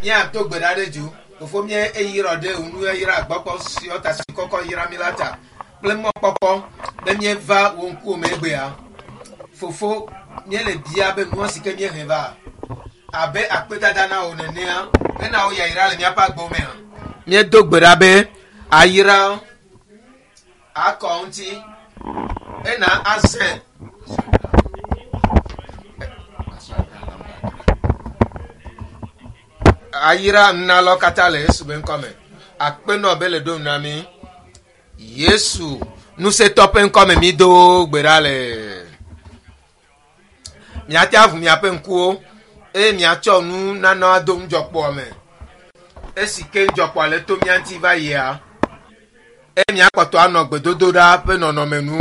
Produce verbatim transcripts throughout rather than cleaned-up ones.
Míato gbe ɖa ɖe du. Fofo mía eyirɔ ɖe ŋu eyra agbɔkpɔ siɔ ta si kɔkɔ yra mi la ta kple mɔkpɔkpɔ be míeva wò ŋkuwò me egbea. Fofo míele bia be nua si ke míehe va abe akpedada na wò nenea ena wò yayra le míaƒe agbewo mea. Míedo gbe ɖa be ayra akɔ ŋuti ena azẽ ayra nunalawo katã le Yesu be ŋkɔme. Akpenɔ be le ɖom na mí. Yesu ŋusẽtɔ ƒe ŋkɔme mi do gbe ɖa le. Miate aʋu miaƒe ŋkuwo eye miatsɔ nu nana ado ŋudzɔkpɔa me. Esi ke ŋudzɔkpɔa le to mía ŋuti va yia, eye miakpɔtɔ anɔ gbedodoɖa ƒe nɔnɔme nu.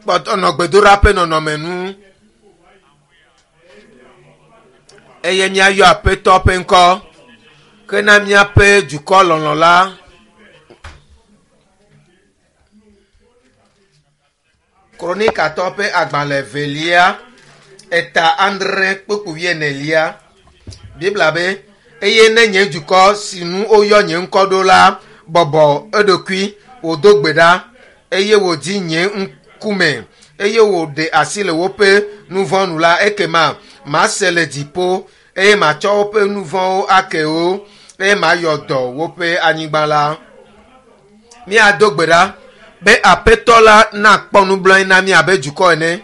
Kpɔtɔ nɔ gbedoɖa ƒe nɔnɔme nu. Eye míayɔ Aƒetɔ ƒe ŋkɔ kena míaƒe dukɔ lɔlɔ̃ la. Kronikatɔ ƒe agbalẽ evelia, eta adre kpukpui wuienelia. Biblia be, eye ne nye dukɔ si nu woyɔ nye ŋkɔ ɖo la bɔbɔ eɖokui, wòdo gbe ɖa eye wòdi nye ŋkume eye wòɖe asi le woƒe nu vɔ̃ nu la, ekema mase le dziƒo eye matsɔ woƒe nu vɔ̃wo ake wo eye mayɔ dɔ woƒe anyigba la. Míado gbe ɖa be Aƒetɔ la nakpɔ nublanui na mí abe dukɔ ene.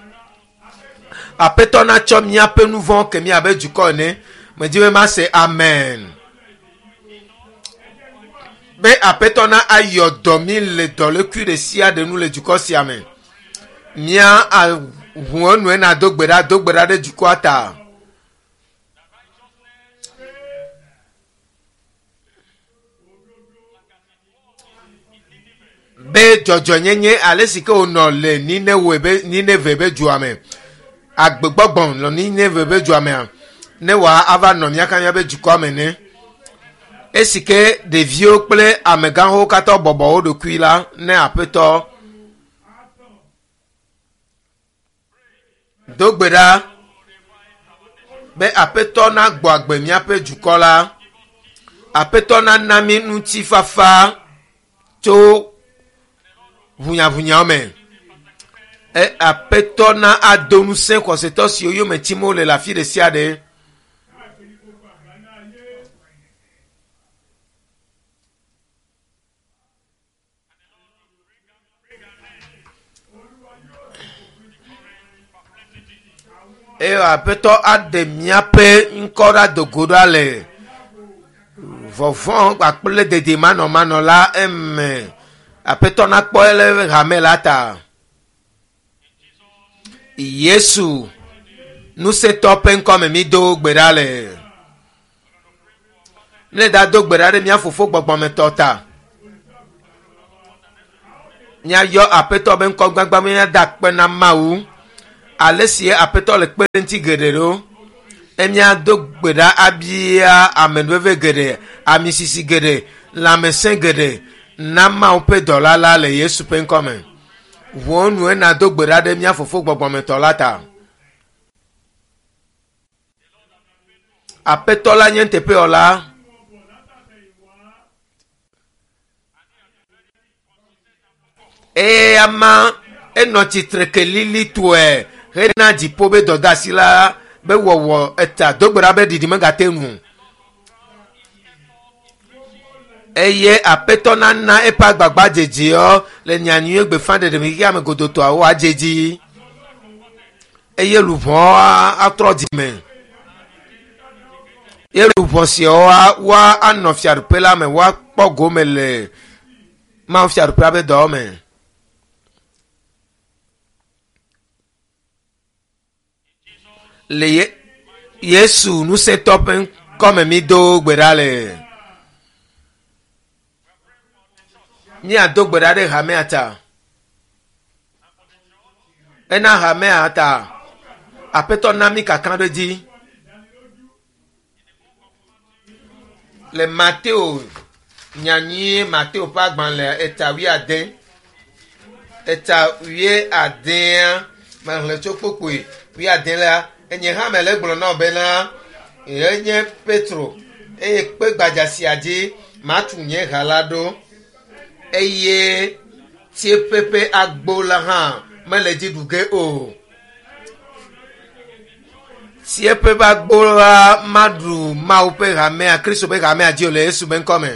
Aƒetɔ natsɔ míaƒe nu vɔ̃ ke mí abe dukɔ ene. Medi be mase amen. Be Aƒetɔ na ayɔ dɔ mí le dɔlékui ɖe sia ɖe nu le dukɔ sia me. Mía ʋu enu ena do gbe ɖa, do gbe ɖa ɖe dukɔa ta. Be dzɔdzɔnyenye ale si ke wònɔ le Ninewe be Nineve be dua me, agbegbɔgbɔ nɔ Nineve be dua mea, ne wòa ava nɔ míaka míaƒe dukɔa me ne. Esi ke ɖeviwo kple amegãwo katã bɔbɔ wo ɖokui la, ne Aƒetɔ do gbe ɖa be Aƒetɔ nagbɔ agbe míaƒe dukɔ la. Aƒetɔ nana mí ŋutifafa tso ʋunyaʋunyawo me. E Aƒetɔ na ado ŋusẽ xɔsetɔ siwo yome tim wole le afi ɖe sia ɖe. Eye Aƒetɔ aɖe míaƒe ŋkɔ ɖa do go ɖa le vɔvɔ̃ kpakple dedemanɔmanɔ la eme. Aƒetɔ nakpɔ ele hame la ta. Yesu ŋusẽtɔ ƒe ŋkɔme mi do gbe ɖa le. Ne da do gbe ɖa ɖe mía fofo gbɔgbɔmetɔ ta. Míayɔ Aƒetɔ be ŋkɔ gbagba míada akpe na Mawu. Ale si Aƒetɔ le kpe ɖe ŋuti geɖe ɖo. Emia do gbe ɖa abia amenuveve geɖe, amisisi geɖe, lãmesẽ geɖe na Mawu ƒe dɔla la le Yesu ƒe ŋkɔme. Ʋuɔ nu ena do gbe ɖa ɖe mía fofo gbɔgbɔmetɔ la ta. Aƒetɔ la nye nuteƒewɔla. Eye ama enɔ tsitre ke lilitɔe hena dziƒo be dɔdeasi la be wɔwɔ eta do gbe ɖa be ɖiɖi megate ŋu. Eye Aƒetɔ nana eƒe agbagba dzedzeɔ le nyanyuie gbeƒãɖeɖe me xexea me godotɔawo adze dzi. Eye luʋɔ atrɔ dzime. Ye luʋɔ siawo woa anɔ fiaɖuƒe la me, woakpɔ gome le Mawu fiaɖuƒea ƒe dɔwɔ me. Le Ye Yesu ŋusẽtɔ ƒe ŋkɔme mi do gbe ɖa le. Míado gbe ɖa ɖe hamea ta. Ena hamea ta. Aƒetɔ na mí kaka ɖe dzi. Le Mateo nyanyui Mateo ƒe agbalẽ eta wuiade. Eta wuiadea mexlẽ tso kpukpui wuiade la, enye hã mele gblɔ na wo bena Enye Petro eye kpe gbadza sia dzi matu nye ha la ɖo eye tsieƒe ƒe agbo la hã mele dzi ɖu ge o. Tsieƒe ƒe agbo la maɖu Mawu ƒe hamea, Kristo ƒe hamea dzi o le Yesu ƒe ŋkɔme.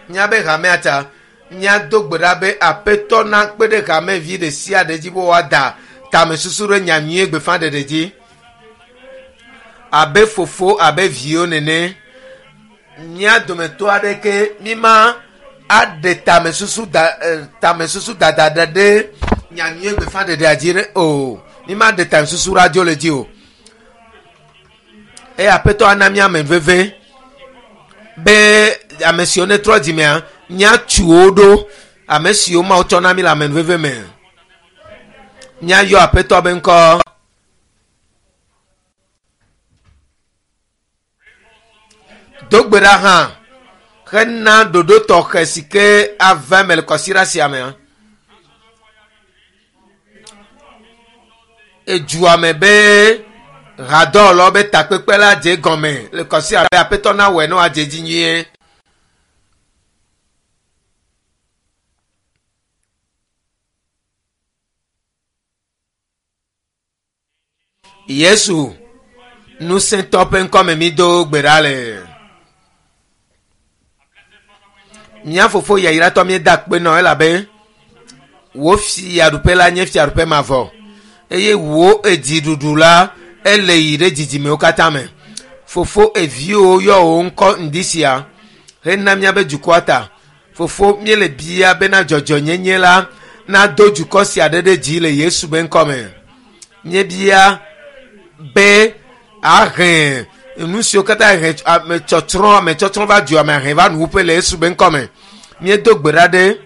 Míabe hamea ta míado gbe ɖa be Aƒetɔ nakpe ɖe hamevi ɖe sia ɖe dzi be woada tamesusu ɖe nyanyuie gbeƒãɖeɖe dzi abe fofo abe viwo nene. Mía dometɔ aɖeke míma aɖe tamesusu da tamesusu dada ɖe ɖe nyanyuie gbeƒãɖeɖea dzi ɖe o. Míma ɖe tamesusu ɖe adzo le dzi o. Eye Aƒetɔ ana mía ame veve be ame siwo netrɔ dzimea míatu wo ɖo ame siwo Mawu tsɔ na mí le ame veve me. Míayɔ Aƒetɔ be ŋkɔ. Do gbe ɖa hã hena ɖoɖo tɔxɛ si ke ava eme le kɔsiɖa sia mea. Edua me be hadɔwɔlawo be takpekpe la dze gɔme le kɔsiɖa be Aƒetɔ nawɔe ne wòadze edzi nyuie. Yesu ŋusẽtɔ ƒe ŋkɔme mi do gbe ɖa le. Mía fofo yayratɔ míeda akpe nɔ elabe wò fiaɖuƒe la nye fiaɖuƒe mavɔ eye wò edziɖuɖu la ele yi ɖe dzidzimewo katã me. Fofo eviwo yɔ wò ŋkɔ ŋdi sia hena míabe dukɔa ta. Fofo míele bia bena dzɔdzɔnyenye la nado dukɔ sia ɖe ɖe dzi le Yesu ƒe ŋkɔme. Míebia be ahe nu siwo katã he ame tsɔtsrɔ̃ ame tsɔtsrɔ̃ va dua me ahe va nuwuƒe le Yesu ƒe ŋkɔme. Míedo gbe ɖa ɖe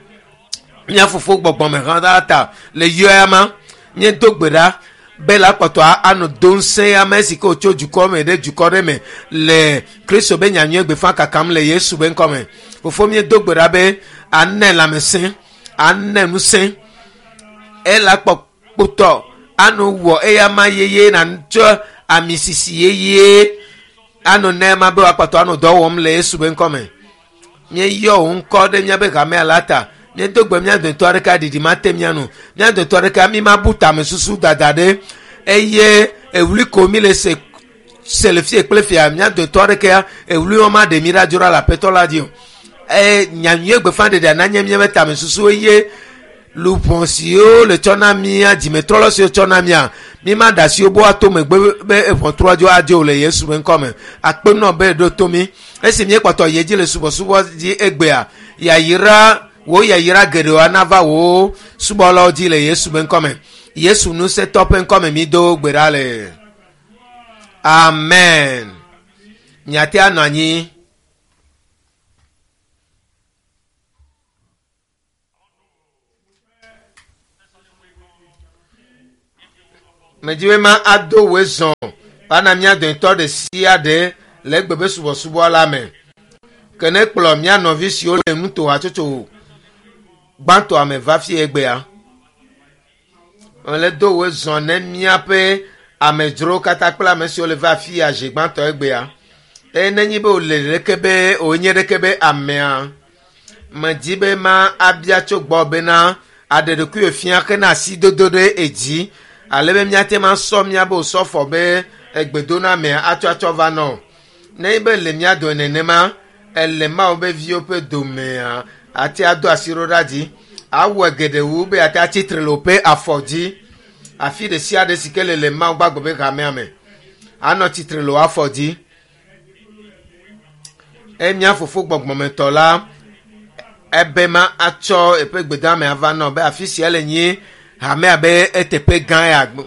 mía fofo gbɔgbɔme hã la ta le yɔa ma. Míedo gbe ɖa be la kpɔtɔ anɔ do ŋusẽ ame si ke wòtso dukɔ me ɖe dukɔ ɖe me le Kristo be nyanyuie gbeƒã kakam le Yesu ƒe ŋkɔme. Fofo míedo gbe ɖa be anɛ lãmesẽ, anɛ ŋusẽ, ela kpɔ kpotɔ anɔ wɔ eya ma yeye natsɔ ami sisi yeye anɔ na ema be wòakpɔtɔ anɔ dɔ wɔm le Yesu ƒe ŋkɔme. Míeyɔ wò ŋkɔ ɖe míabe hamea la ta. Míedo gbe mía dometɔ aɖeke aɖiɖi mate mía nu. Mía dometɔ aɖeke mi mabu tamesusu dada ɖe eye ewli ko mi le se se le fie kple fia. Mía dometɔ aɖekea ewli wɔm aɖe mi ɖa dzo ɖa le Aƒetɔ la dzi o. Eye nyanyuie gbeƒãɖeɖea nanye míaƒe tamesusu eye luʋɔ siwo le tsɔ na mía dzimetrɔlɔ siwo tsɔ na mía mi ma ɖe asi wo be woato megbe be eʋɔtrɔ dzo adzo le Yesu ƒe ŋkɔme. Akpe nɔ be ɖo to mi. Esi míekpɔtɔ yi edzi le subɔsubɔ dzi egbea, yayra wò yayra geɖewo nava wò subɔlawo dzi le Yesu ƒe ŋkɔme. Yesu ŋusẽtɔ ƒe ŋkɔme mi do gbe ɖa le. Amen. Miate anɔ anyi. Medzi be ma ado wòe zɔ va na mía dometɔ ɖe sia ɖe le egbe be subɔsubɔ la me. Ke ne kplɔ mía nɔvi siwo le nuto hatsotso gbãtɔa me va fie egbea. Mele do wòe zɔ ne míaƒe amedzrowo katã kple ame siwo le va fia zi gbãtɔ egbea. Eye nenye be wòle ɖeke be wònye ɖeke be amea, medzi be ma abia tso gbɔ bena aɖe ɖokuiwò fia hena asidodo ɖe edzi ale be míate ŋu asɔ míabe wòsɔfɔ be egbedonamea atsɔ atsɔ va nɔ. Nenye be le mía dome nenema, ele Mawu be viwo ƒe domea, ate ado asi ɖo ɖa dzi, awɔe geɖe wu be ate atsitre le woƒe afɔ dzi. Afi ɖe sia ɖe si ke le le Mawu gbagbe ƒe hamea me, anɔ tsitre le wò afɔ dzi. Eye mía fofo gbɔgbɔmetɔ la, ebe ma atsɔ eƒe gbedame ava nɔ be afi sia le nyi hamea be eteƒe gã ya gbɔ.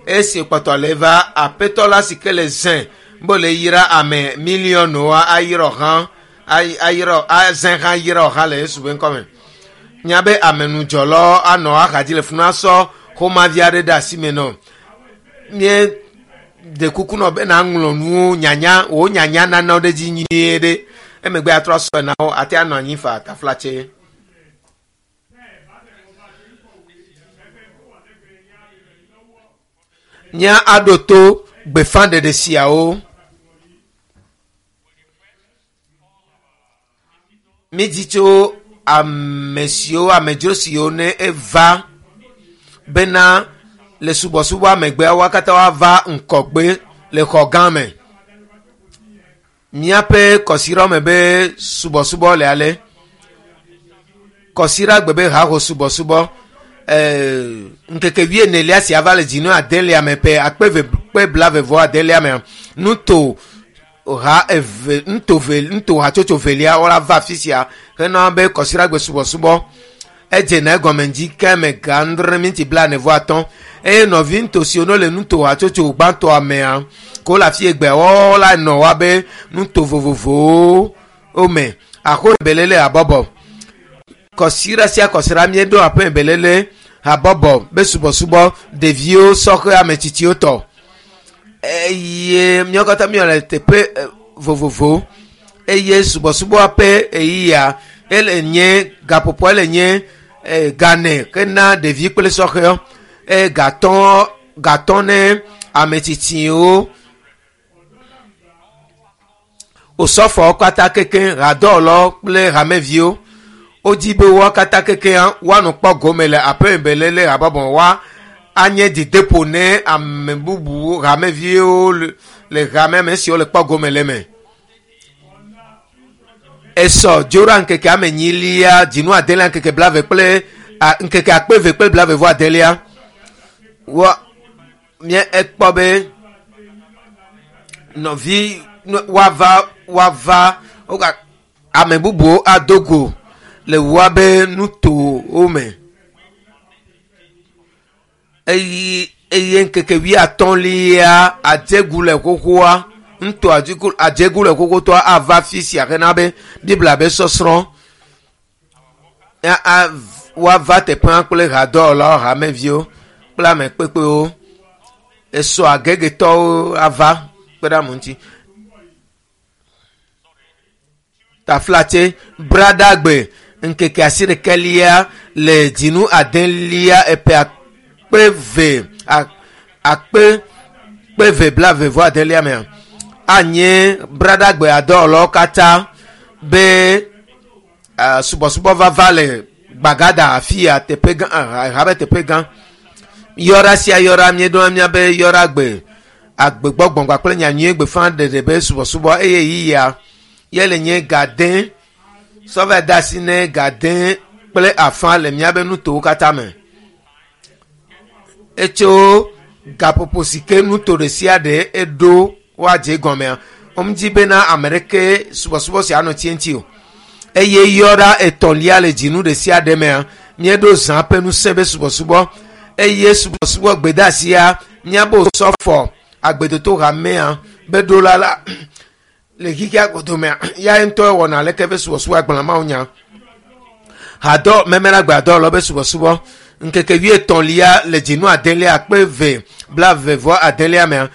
Esi kpɔtɔ le va Aƒetɔ la si ke le zẽ be le yra ame miliɔnwo ayyrɔ hã, ayyrɔ azẽ hã yrɔ hã le Yesu ƒe ŋkɔme. Míabe amenudzɔlawo anɔ axadzi le funu asɔ xomavi aɖe ɖe asi me nɔ. Míeɖe kuku nɔ be naŋlɔ nuwo nyanya, wò nyanya nana ɖe dzi nyuie ɖe. Emegbe atrɔ asɔe na wo, ate anɔ anyi fa taflatse. Mía aɖo to gbeƒãɖeɖe siawo. Mídi tso ame siwo amedzro siwo ne eva bena le subɔsubɔa megbea wo katã woava ŋkɔgbe le xɔ gã me. Míaƒe kɔsiɖa me be subɔsubɔ le ale. Kɔsiɖagbe be haho subɔsubɔ ɛɛ ŋkeke wuienelia sia va le dzinu adelia me ƒe akpe eve kpe blaeve vɔ adelia mea nuto ha eve nuto ve nuto hatsotso velia wola va afi sia hena be kɔsiɖagbe subɔsubɔ edzena egɔme dzi ke me ga andre minti blaene vɔ atɔ̃ eye nɔvi nuto siwo ne le nuto hatsotso gbãtɔa mea ko le afi egbea woawo la nɔ woabe nuto vovovowo wo me axo belele habɔbɔ kɔsiɖa sia kɔsiɖa míeɖo aƒe belele habɔbɔ be subɔsubɔ ɖeviwo sɔhe ametsitsiwo tɔ eye míawo katã míele teƒe eh, vovovowo eye subɔsubɔa ƒe ɣeyiɣia ele nye gaƒoƒoa ele nye eh, gane hena ɖevi kple sɔhewo eye gatɔ gatɔ ne ametsitsiwo osɔfɔwo katã kekeŋ hadɔwɔlawo kple hameviwo wodzi be woa katã kekeŋ woanɔ kpɔ gome le aƒeme belele habɔbɔ wa anye dzideƒo ne ame bubuwo hameviwo le- le hame me siwo le kpɔ gome le eme. Esɔ dzora ŋkeke ame enyilia dzinu adelia ŋkeke blaeve kple a, ŋkeke akpe eve kple blaeve vɔ adelia wa mía ekpɔ be nɔvi no- woava woava woga ame bubuwo ado go le woabe nutowo me eye eye ŋkeke wuiatɔ̃lia adzegu le xoxoa ŋutɔ adzegu adzegu le xoxotɔa ava fi sia hena be biblia be sɔsrɔ̃ ya a woava teƒea kple hadɔwɔlawo hameviwo kple ame kpekpewo esɔ agegetɔwo ava kpe ɖe ame ŋuti taflatse bradagbe ŋkeke asiɖekelia le dzinu adelia eƒe akpe ve a- akpe kpe ve blaeve vɔ adelia mea anye bradagbe adɔwɔlawo katã be uh, subɔsubɔ vava le gbagada afi ya teƒe gã ah, habe teƒe gã yɔɖa sia yɔɖa míeɖo míabe yɔɖagbe agbegbɔgbɔn kpakple nyanyui gbeƒã ɖeɖe be subɔsubɔ eye yiyia ye le nye gade sɔvɛ da asi ne gade kple afã le míabe nutowo katã me etso gaƒoƒo si ke nuto ɖe sia ɖe eɖo woadze gɔmea womedzi bena ame ɖeke subɔsubɔ sia anɔ tsiẽtsi o eye yɔɖa etɔ̃lia le dzinu ɖe sia ɖe mea míeɖo zã ƒe ŋusẽ be subɔsubɔ eye subɔsubɔ gbedeasia míabe osɔfɔ agbedoto hamea be ɖola la le xixia godomea ya ŋutɔ wɔna aleke be subɔsubɔ agblɔ mawu nya hadɔ mɛmɛna adɔ be subɔsubɔ ŋkeke wuietɔ̃lia le dzinu adelia akpe eve blaeve vɔ adelia mea